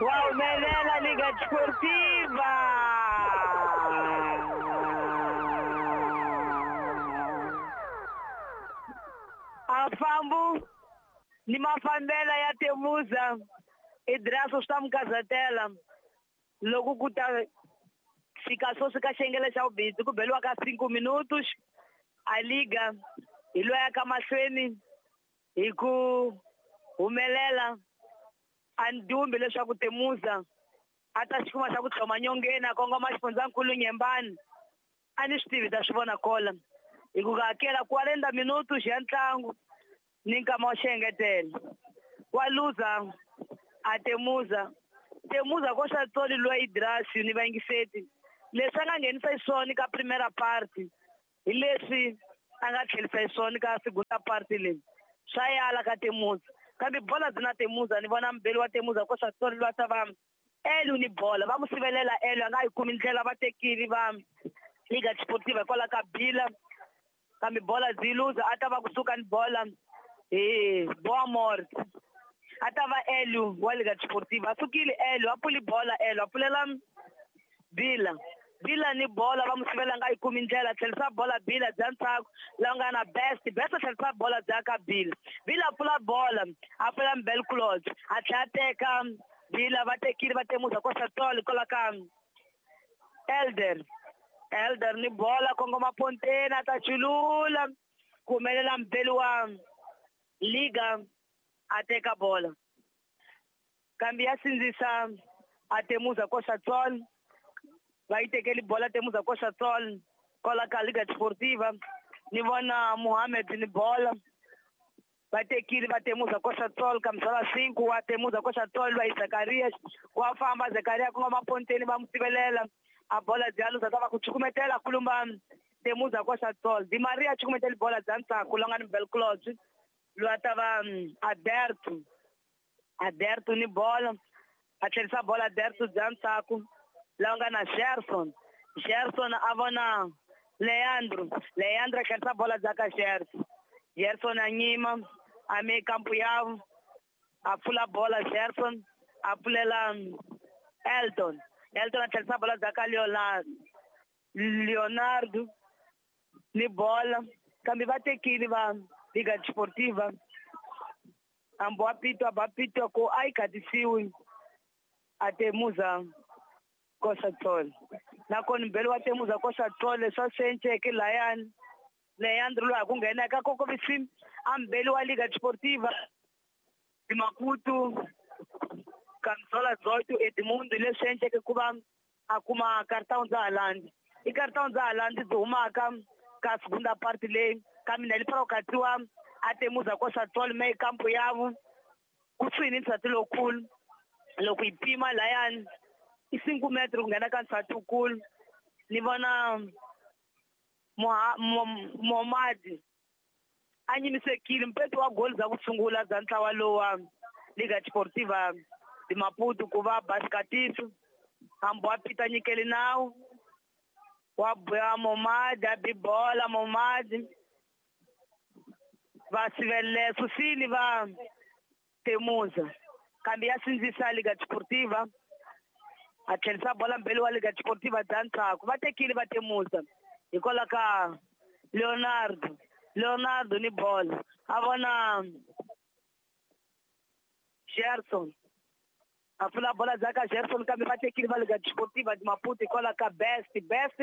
Wa humelela Liga Desportiva. A fambu ni mafambela ya Temuza Idraso swi ta mi kazatela loko ku ta fika sweswi ka xiyengele xa vubindzu ku beliwa ka 5 minutos a liga hi loya ka mahlweni hi ku humelela a ndumbi leswaku Temuza a ta xi kuma xa ku tlhoma nyongeni a kongoma xifundzankulu Nyembani a ni swi tivi ta swi vona kola hi ku hakela 40 minutos ya ntlangu ni nkama wa xengetelo wa luza a Temuza Temuza ko xa tsoli loyi Idrasi ni vayingiseti leswi a nga nghenisa xiswona ka primera party hi leswi a nga tlherisa xiswona ka segunda party leyi swa yala ka Temuza kambe bola byi na Temuza ni vona mbeli wa Temuza ko xa tsoli loyi ta va Elu ni bola va mu sivelela Elu a nga yi kumi ndlela va tekile va Liga Desportiva hikwalaho ka Bila kambe bola byi luza a ta va kusuka ni bola hi Boa Morte a ta va Elu wa Liga Desportiva a sukile Elu a pfuli bola Elu a pfulela Bila Bila ni bola va mu sivela nga yi kumi ndlela tlherisa bola Bila bya ntsako la nga na Best Best tlherisa bola bya ka Bila Bila a pfula bola a pfula Mbelclot a tlhela a teka Bila va tekile va Temuza ko xa tsolo hikwalaho ka Elder Elder ni bola kongoma ponteni a ta chulula ku humelela mbeli wa Liga a teka bola kambe ya sindzisa a Temuza ko xa tsolo va yi tekeli bola Temuza ko xa tsolo kwala ka Liga Desportiva ni vona Mohamed ni bola va tekile va Temuza ko xa tsolo kambe 5 wa Temuza ko xa tsolo va yi Zakaria wa famba Zakaria ku nga maponteni va mu sivelela a bola bya luza ta va ku chukumetela kulumba Temuza ko xa tsolo Di Maria chukumetela bola bya ntsako la nga ni Belclot loyi a ta va Aderto Aderto ni bola a tlherisa bola Aderto bya ntsako la nga na Gerson Gerson a vona Leandro Leandro a tlherisa bola bya ka Gerson Gerson a nyima a me kampu yavo a pfula bola Gerson a pfulela Elton Elton a tlherisa bola bya ka Leonardo ni bola kambe va tekile va Liga Desportiva ambo a pitwa ba pitwa ko a yi khatisiwi a Temuza koxa tsolo nakona mbeli wa Temuza koxa tsolo leswi a swi enceke layani Leandro loyi a ku nghena eka kokovisi a mbeli wa Liga Desportiva Maputo Camisola 18 Edmundo leswi enceke ku va a kuma cartão dza Haaland i cartão dza Haaland byi humaka ka segunda parte leyi kambe na li katsiwa a Temuza koxa tsolo me kampo yavo kusuhi ni nsati lowukulu loko yi pima layani i 5 metro ku nghena ka nsati wukulu ni vona Momadi a nyimisekile mpeto wa goli za ku sungula bya ntlawa lowa Liga Desportiva de Maputo ku va Baskatiso hambi wa pita nyikeli nawu wa boya Momadi a bi bola Momadi va sivelela susile va Temuza kambe ya sindzisa Liga Desportiva a tlherisa bola mbeli wa Liga Desportiva bya ntsako va tekile va Temuza hikwalaho ka Leonardo Leonardo ni bola a vona Gerson a pfula bola bya ka Gerson kambe va tekile va Liga Desportiva de Maputo hikwalaho ka Best Best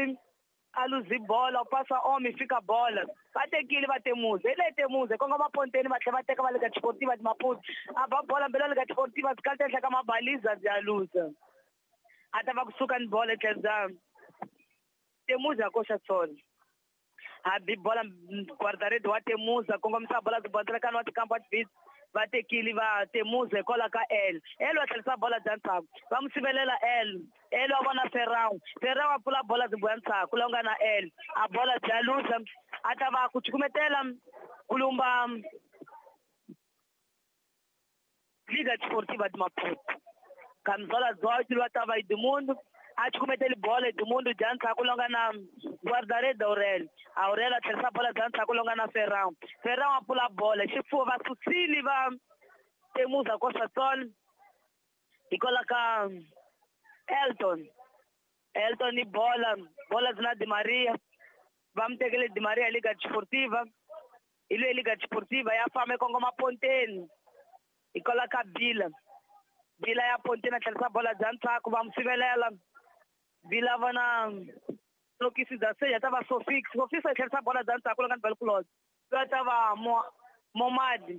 a luzi bola u pasa omi fika bola va tekile va Temuza hi le Temuza kongoma ponteni va tlhela va teka va Liga Desportiva de Maputo a ba bola mbeli wa Liga Desportiva byi kalita ehenhla ka mabaliza bya luza a ta va kusuka ni bola etlhelo bya Temuza koxa tsolo a bi bola guarda-rede wa Temuza kongomisa bola byi wa tikampa wa va tekile va Temuza hikwalaho ka El El wa tlherisa bola bya ntsako va mu sivelela El El wa vona Ferrao Ferrao a pfula bola byi boya ntsako la nga na El a bola bya luza a ta va ku chukumetela kulumba Liga Desportiva de Maputo Camisola 18 loyi a ta va Edmundo a chukumeteli bola Edmundo bya ntsako la nga na guarda-rede Aurelio Aurelio a tlherisa bola bya ntsako la nga na Ferrao Ferrao a pfula bola xifuwo va susile va Temuza koxa tsolo Hikwalaho ka Elton. Elton ni bola, bola na Di Maria. Va mi tekele Di Maria Liga Desportiva. Hi loyi Liga Desportiva ya famba kongoma ponteni. Hikwalaho ka Bila. Bila ya ponteni a tlherisa bola bya ndzhaku va mu sivelela. Bila vona Sokisi da se ya ta va Sofix. Sofix a tlherisa bola bya ndzhaku la nga ni Belclose. Va ta va Momadi.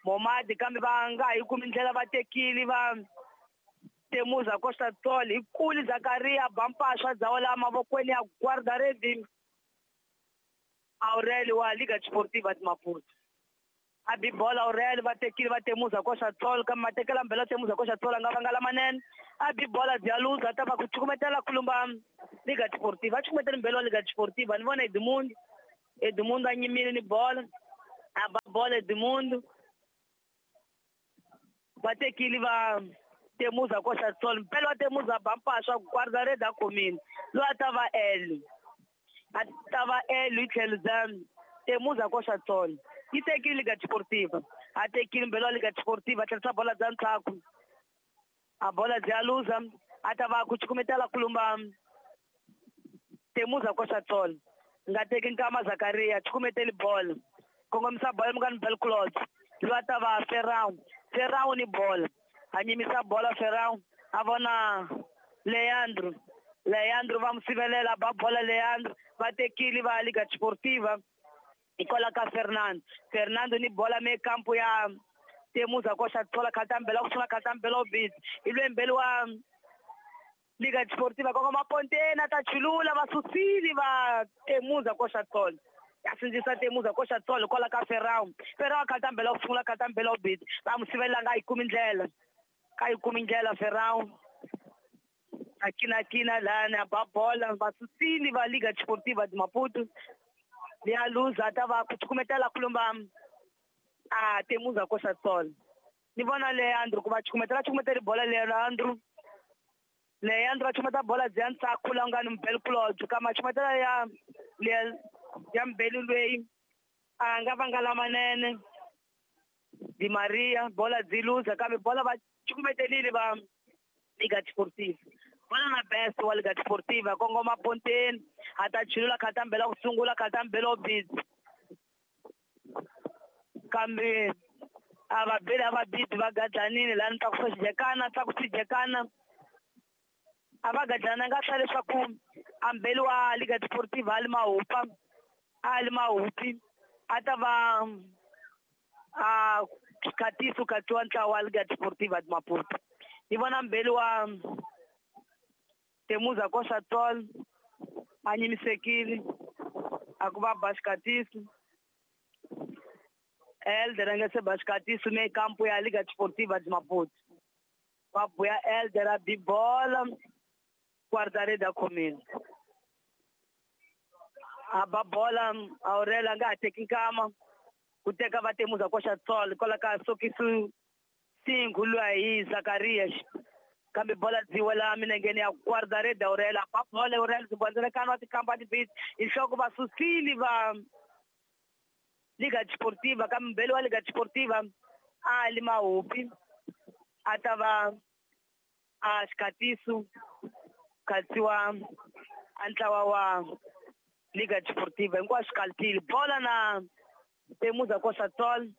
Momadi kambe va nga yi kumi ndlela va tekile va Temuza Costa Tol hi kuli Zakaria Bampasha dzawa mavokweni ya guarda-rede Aurelio wa Liga Desportiva de Maputo. A bi bola Aurelio va tekile va Temuza Costa Tol kambe matekela mbela Temuza Costa Tol nga vanga lamanene. A bi bola Dialuza ta va ku cukumetela kulumba Liga Desportiva. Va cukumetela mbela wa Liga Desportiva ni vona Edmundo. Edmundo a nyimile ni bola. A ba bola Edmundo. Va tekile va Temuza Costa Tol mpela wa Temuza Bampasha guarda-rede a khomile loyi a ta va L a ta va L hi tlhelo bya Temuza Costa Tol yi tekile Liga Desportiva a tekile mbela wa Liga Desportiva a tlherisa bola bya ndzhaku a bola bya luza a ta va ku cukumetela kulumba Temuza Costa Tol nga teki nkama Zakaria cukumeteli bola kongomisa bola mukani Belclose loyi a ta va Ferrao Ferrao ni bola a nyimisa bola Ferrao a vona Leandro Leandro va mu sivelela ba bola Leandro va tekile va Liga Desportiva hikwalaho ka Fernando Fernando ni bola me kampo ya Temuza Costa Tol khatambela ku sungula khatambela ubisi hi loyi mbeli wa Liga Desportiva kongoma ponteni a ta chulula va susile va Temuza Costa Tol ya sindzisa Temuza Costa Tol hikwalaho ka Ferrao Ferrao khatambela ku sungula khatambela ubisi va mu sivelela nga yi kumi ndlela ka yi kumi ndlela Ferrao a kinakina lana ba bola va susile va Liga Desportiva de Maputo ya luza ta va ku cukumetela kulumba a Temuza Costa Tol ni vona Leandro ku va cukumetela cukumeteli bola Leandro Leandro va cukumeta bola bya ndzhaku la nga ni Belclose kama cukumetela ya ya mbeli loyi a nga vanga lamanene Di Maria bola byi luza kambe bola va cukumetelile va Liga Desportiva bola na best wa Liga Desportiva kongoma ponteni a ta chulula khatambela ku sungula khatambela obisi kambe a va beli a va bibi va gadlanile lani tlakusa xijekana tlakusa xijekana a va gadlana nga hla leswaku a mbeli wa Liga Desportiva a li mahupa a li mahupi a ta va a khatiso khatsiwa ntlawa wa Liga Desportiva de Maputo ni vona mbeli wa Temuza Costa Tol a nyimisekile a ku va ba xikatiso Elder a nga se ba xikatiso me kampo ya Liga Desportiva de Maputo va buya Elder a bi bola guarda-rede a khomile a ba bola Aurelio a nga ha teki nkama ku teka va Temuza Costa Tol hikwalaho ka Sokisu Singhu luya hi Zakarias kambe bola byi wela milengeni ya guarda-rede Aurelio ba bola Aurelio zibondzelekano wa tikamba tibisi hi nhloko va susile va Liga Desportiva kambe mbeli wa Liga Desportiva a li mahupi a ta va a xikatiso khatsiwa a ntlawa wa Liga Desportiva hinkwaswo kaltile bola na Temuza Costa Tol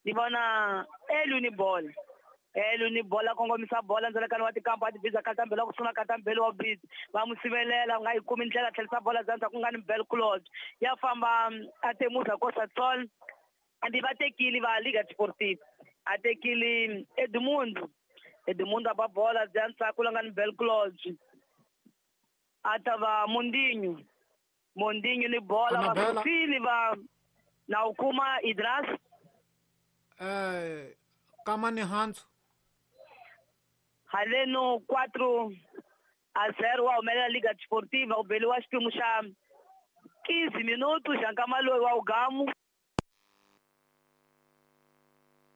ni vona Elu ni bola Elu ni bola kongomisa bola ndzalekano wa tikampa a tibiza khatambela ku sungula khatambela wa bizi va mu sivelela nga yi kumi ndlela tlherisa bola bya ndzhaku nga ni Belclose ya famba a Temuza Costa Tol andi va tekile va Liga Desportiva a tekile Edmundo Edmundo a ba bola bya ndzhaku la nga ni Belclose a ta va Mondinho Mondinho ni bola va susile va na u kuma Idras kama ni Hanso haleno 4-0 wa humelela Liga Desportiva u beliwa xiphemu xa 15 minutos xa nkama loyi wa ugamu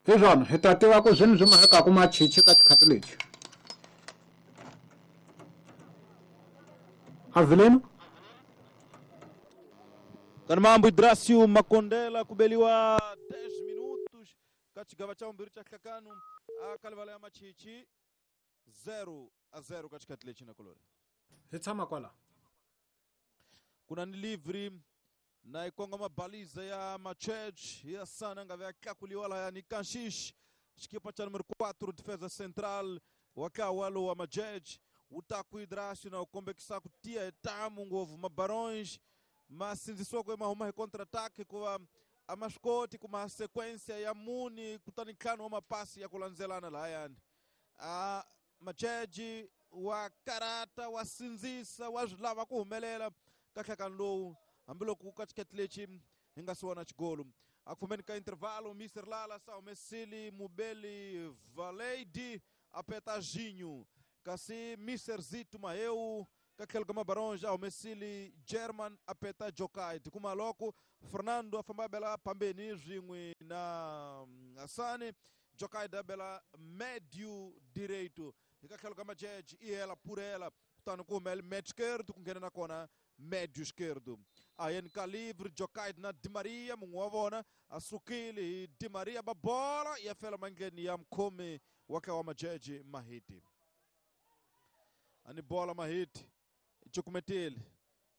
hi swona hi ta tiva ku zwini swi mahekaku machichi ka xikhati lexi Avelino Kanamambo Idracio Makondela kubeliwa 10 minutos ka xigava xa vumbirhi xa nhlakano a kalivala ya machichi. 0-0 ka xikhathi lexi na kulori. Hi tshama kwala. Kuna ni livre na ikongoma baliza ya Machej ya sana nga vya tlakuliwa laya ni Kanxish xikipa cha número 4 defesa central wakawalo wa Machej utaku Idrasio na ukombekisa kutia etamu ngovu mabarões masinzisiwa kwe mahuma hi contra-ataque kuva amaskoti kuma sequência ya muni kutani ntlhanu wa mapasi ya kulandzelana lahayani a Machej wa karata wa sindzisa wa swi lava ku humelela ka nhlakano lowu hambiloko ka xiketi lexi hi nga si vona xigolo a ku fambeni ka intervalo Mr Lala sa humesile Mubeli Valeidi a peta Ginho kasi Mr Zito Maheu ka tlhelo ka Mabaronja a humesile German a peta Jokaid kuma loko Fernando a famba a bela phambeni swin'we na Hasani Jokaid a bela médio direito hi ka tlhelo ka Majeje i hela purela kutani ku humele médio esquerdo ku nghena na kona médio esquerdo a ka livre Jokaid na Di Maria mun'we wa vona a sukile hi Di Maria ba bola ya fela mandleni ya mukhomi wa ka wa Majeje Mahiti ani bola Mahiti cukumetile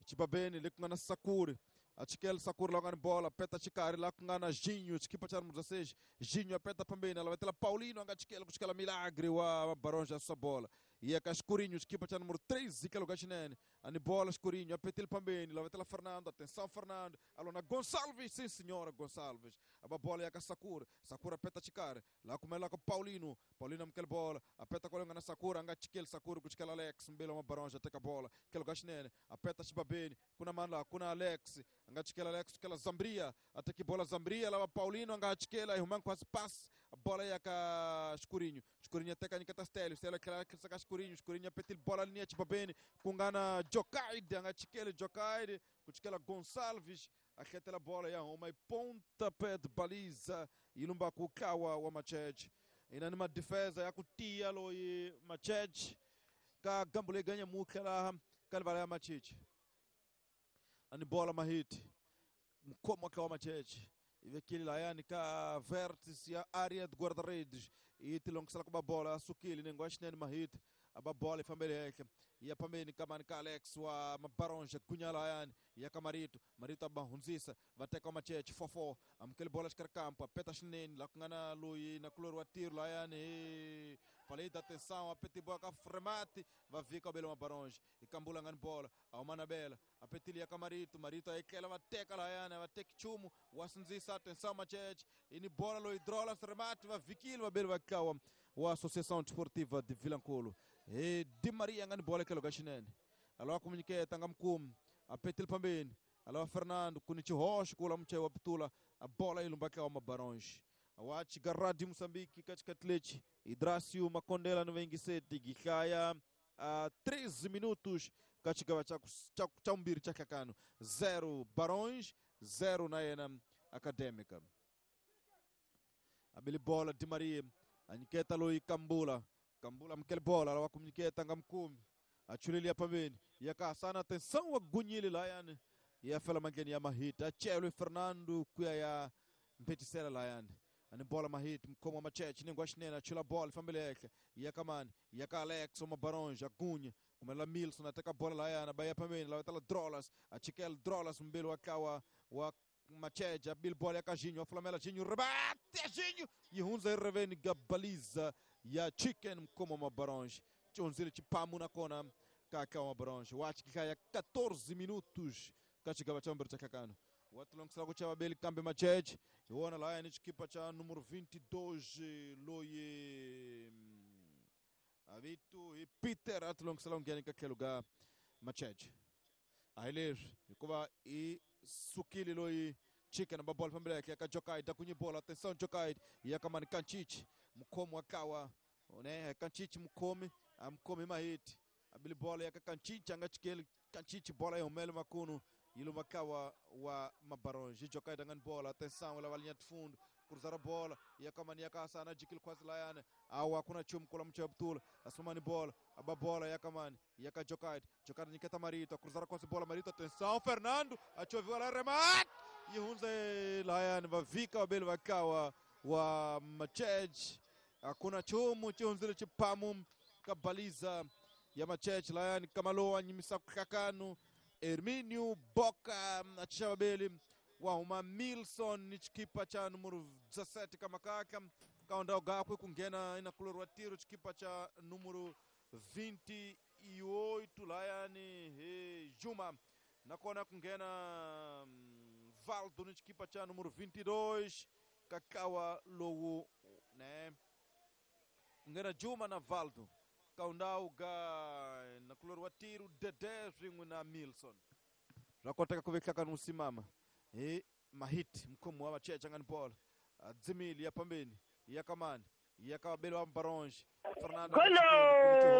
chibabeni le ku nga na Sakuri a chikela Sakuri la ku nga ni bola peta xikarhi la ku nga na Ginho xikipa cha número 16 Ginho a peta phambeni a lavetela Paulino a nga chikela ku chikela Milagre wa Mabaronja a susa bola ya ka Escurinho xikipa cha número 3 ka lugar xinene ani bola Escurinho a petile phambeni lavetela Fernando atenção Fernando alona Gonçalves sim senhora Gonçalves a bola ya ka Sakura Sakura peta xikarhi la kumela ka Paulino Paulino amukela bola a peta kwale nga na Sakura a nga chikeli Sakura ku chikela Alex mbele wa Mabaronja teka bola ke lugar xinene a peta xibabeni kuna mani laha kuna Alex a nga chikela Alex chikela Zambria a teki bola Zambria lava Paulino a nga chikela yi huma nkhwasi pass bola ya ka Escurinho Escurinho a teka nyiketa Stelio Stelio tlhela tlherisa ka Escurinho Escurinho a petile bola linia xibabeni ku nga na Jokaid a nga chikeli Jokaid ku chikela Gonçalves a hletela bola ya huma yi pontapé de baliza yi lumba ku ntlawa wa Machej ina ni madefesa ya ku tiya loyi Machej ka gambu leyi ganya mutlha laha ka livala ya Machichi ani bola Mahiti mukhomi wa ntlawa wa Machej yi vekile lahayani ka vértice ya área de guarda-redes yi tilongisela ku ba bola a sukile nengo wa xinene Mahiti a ba bola yi fambele henhla yi ya phambeni ka mani ka Alex wa Mabaronja gunya lahayani ya ka Marito Marito a ba hundzisa va teka Machech 4-4 amukeli bola xikarhi kampo a peta xinene laha ku nga na loyi na kulori wa tiro lahayani hi falei da atenção a peti bola ka Fremati va vika bele Mabaronja hi kambula nga ni bola a huma na bela a petile ya ka Marito Marito a etlela va teka lahayani va teki nchumu wa sindzisa atenção Machech i ni bola loyi drola Fremati va vikile va bele va tlawa wa Associação Desportiva de Vilankulu hi Di Maria nga ni bola tlhelo ka xinene a lava ku nyiketa nga mukumi a petile phambeni a lava Fernando ku ni xihoxo ku la muchayi wa pitula a bola yi lumba tlawa Mabaronge wa chiga Radio Moçambique ka xikati lexi Idrasio Makondela ni vayingiseti gihlaya a 13 minutos ka xigava xa vumbirhi xa nhlakano 0 Barões 0 na yena Acadêmica abili bola Di Maria a nyiketa loyi Kambula Kambula amukele bola lava ku nyiketa nga mukumi a chuleli ya phambeni ya ka Hasana atenção wa gunyile lahayani ya fela mandleni ya Mahiti a chelwe Fernando ku ya ya mphetisela lahayani ani bola Mahiti mukhomi wa Machech nengo wa xinene a chula bola yi fambele henhla ya ka mani ya ka Alex wa Mabaronja gunya kumela Milson a teka bola lahayani ba ya phambeni lava tala Drolas a chikela Drolas mbeli wa tlawa wa Machej a bil bola ya ka Ginho a flamela Ginho rebate a Ginho yi hundza hi reveni ga baliza ya Chicken mukhomi wa Mabaronja xi hundzile xipamu nakona ka tlawa wa Mabaronja wa xihlaya 14 minutos ka xigava xa vumbirhi xa nhlakano wa tilongisela ku chava beli kambe Machej hi wona lahayani xikipa xa numero 22 loyi a vito hi Peter a tilongisela ku nghena ka tlhelo ka Machej a hi leswi hikuva i sukile loyi Chicken ba bola fambela henhla ka Jokaid a kunyi bola atenção Jokaid ya ka mani Kanchichi mukhomi wa tlawa ne Kanchichi mukhomi a mukhomi Mahiti abili bola ya ka Kanchichi a nga chikeli Kanchichi bola yi humele makunu yi luma tlawa wa Mabaronge Jokaid a nga ni bola atenção lava linha de fundo cruzar a bola ya ka mani ya ka Hasana jikile khwasi layani awa kuna chumu kula muchayi butula asumani bola aba bola ya ka mani ya ka Jokaid Jokaid nyiketa Marito cruzar khwasi bola Marito atenção Fernando achoviwa la remate yi hundze layani va vika vabeli va tlawa wa Machej hakuna chumu xi hundzile xipamu Ka baliza ya Macheche layani Kamalowa nyimisa kuhlakanu Herminio Boka achicha vabeli wa huma Milson ni chikipa cha numero 17 kamakaka kaundao gakwe kunghena inakuloriwa tiro chikipa cha numero 28 layani he Juma nakona kunghena Valdo ni chikipa cha numero 22 kakawa lowu ne kunghena Juma na Valdo kaundau ga nakuloriwa tiro Dede swin'we na Milson zvakoteka ku vehlakani wu simama hi mahiti mkhomi wa Macheche ngani bola dzimili ya pambeni ya kamani ya ka vabeli wa Baronge Fernando. Golo!